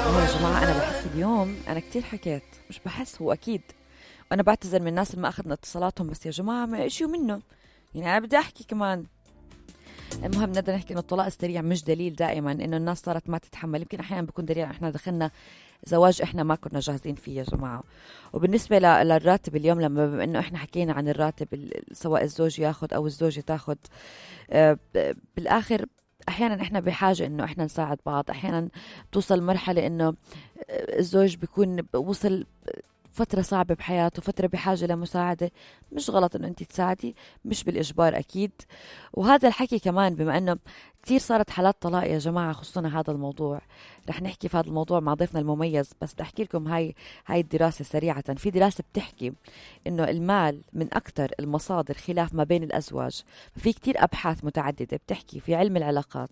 يا جماعة أنا بحس اليوم أنا كتير حكيت، مش بحس، هو أكيد. وأنا بعتذر من الناس اللي ما أخذنا اتصالاتهم، بس يا جماعة ما إشيو منه، يعني أنا بدي أحكي كمان. المهم نقدر نحكي إنه الطلاق السريع مش دليل دائما إنه الناس صارت ما تتحمل، يمكن أحيانا بيكون دليل إحنا دخلنا زواج إحنا ما كنا جاهزين فيه يا جماعة. وبالنسبة للراتب اليوم، لما بما إنه إحنا حكينا عن الراتب سواء الزوج ياخد أو الزوجة تاخد، بالآخر أحيانا إحنا بحاجة إنه إحنا نساعد بعض. أحيانا توصل مرحلة إنه الزوج بيكون وصل فترة صعبة بحياته، فترة بحاجة لمساعدة، مش غلط إنه أنت تساعدي، مش بالإجبار أكيد. وهذا الحكي كمان بما إنه كتير صارت حالات طلاق يا جماعة، خصوصا هذا الموضوع رح نحكي في هذا الموضوع مع ضيفنا المميز. بس بدي أحكي لكم هاي الدراسة سريعة. في دراسة بتحكي إنه المال من أكتر المصادر خلاف ما بين الأزواج. في كتير أبحاث متعددة بتحكي في علم العلاقات،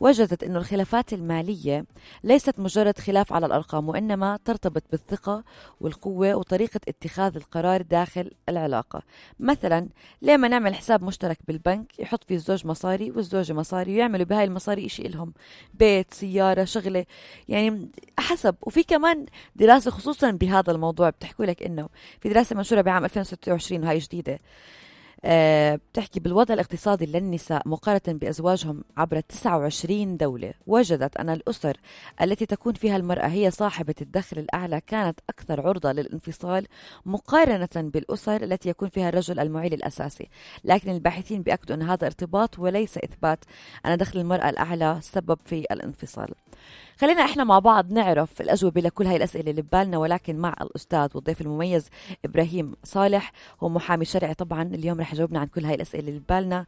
وجدت إنه الخلافات المالية ليست مجرد خلاف على الأرقام، وإنما ترتبط بالثقة والقوة وطريقة اتخاذ القرار داخل العلاقة. مثلا ليه ما نعمل حساب مشترك بالبنك يحط فيه الزوج مصاري والزوجة مصاري، ويعملوا بهاي المصاري إشي إلهم، بيت، سيارة، شغلة، يعني حسب. وفي كمان دراسة خصوصا بهذا الموضوع بتحكي لك إنه في دراسة منشورة بعام 2026 وهي جديدة، بتحكي بالوضع الاقتصادي للنساء مقارنة بأزواجهم عبر 29 دولة. وجدت أن الأسر التي تكون فيها المرأة هي صاحبة الدخل الأعلى كانت أكثر عرضة للانفصال مقارنة بالأسر التي يكون فيها الرجل المعيل الأساسي. لكن الباحثين بيأكدوا أن هذا ارتباط وليس إثبات أن دخل المرأة الأعلى سبب في الانفصال. خلينا إحنا مع بعض نعرف الأجوبة لكل هاي الأسئلة اللي ببالنا، ولكن مع الأستاذ والضيف المميز إبراهيم صالح، هو محامي شرعي. طبعا اليوم رح يجاوبنا عن كل هاي الأسئلة اللي ببالنا،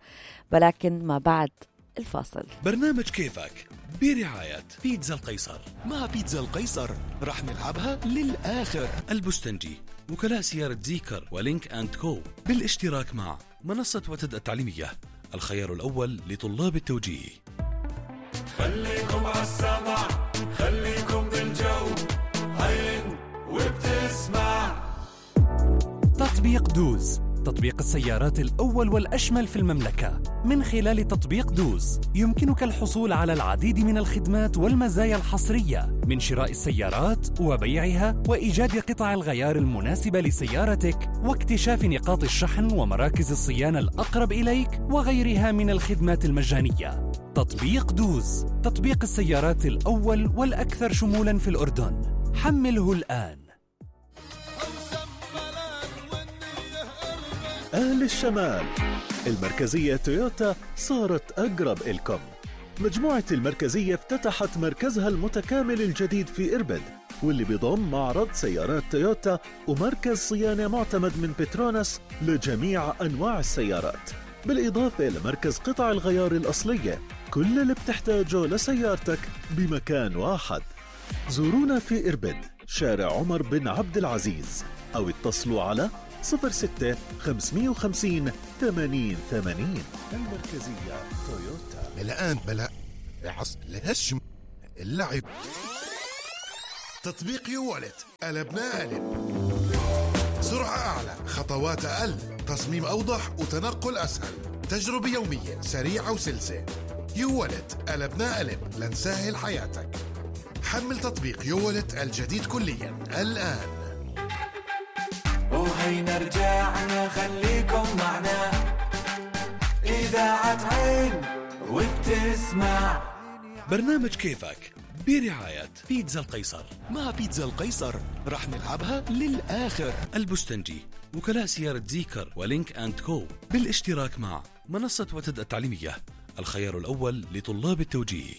ولكن ما بعد الفاصل. برنامج كيفك برعاية بيتزا القيصر. مع بيتزا القيصر رح نلعبها للآخر. البستنجي، وكلاء سيارة زيكر ولينك أند كو، بالاشتراك مع منصة وتد التعليمية، الخيار الأول لطلاب التوجيه. خليكم عالسمع، خليكم بالجو، هين وبتسمع. تطبيق دوز، تطبيق السيارات الأول والأشمل في المملكة. من خلال تطبيق دوز يمكنك الحصول على العديد من الخدمات والمزايا الحصرية، من شراء السيارات وبيعها وإيجاد قطع الغيار المناسبة لسيارتك واكتشاف نقاط الشحن ومراكز الصيانة الأقرب إليك وغيرها من الخدمات المجانية. تطبيق دوز، تطبيق السيارات الأول والأكثر شمولاً في الأردن. حمله الآن. أهل الشمال، المركزية تويوتا صارت أقرب إلكم. مجموعة المركزية افتتحت مركزها المتكامل الجديد في إربد، واللي بيضم معرض سيارات تويوتا ومركز صيانة معتمد من بتروناس لجميع أنواع السيارات، بالإضافة لمركز قطع الغيار الأصلية. كل اللي بتحتاجه لسيارتك بمكان واحد. زورونا في إربد، شارع عمر بن عبد العزيز، أو اتصلوا على 06 550 80 80. المركزية تويوتا. الآن بلا عص لهشم اللعب. تطبيق يوالت، قلبنا قلب. سرعة أعلى، خطوات أقل، تصميم أوضح وتنقل أسهل، تجربة يومية سريعة وسلسة. يوالت، قلبنا قلب لنسهل حياتك. حمل تطبيق يوالت الجديد كليا الآن. وهينا رجعنا، خليكم معنا، إذاعة عين وبتسمع. برنامج كيفك برعاية بيتزا القيصر. مع بيتزا القيصر رح نلعبها للآخر. البستنجي، وكلاء سيارة زيكر ولينك أند كو، بالاشتراك مع منصة وتد التعليمية، الخيار الأول لطلاب التوجيه.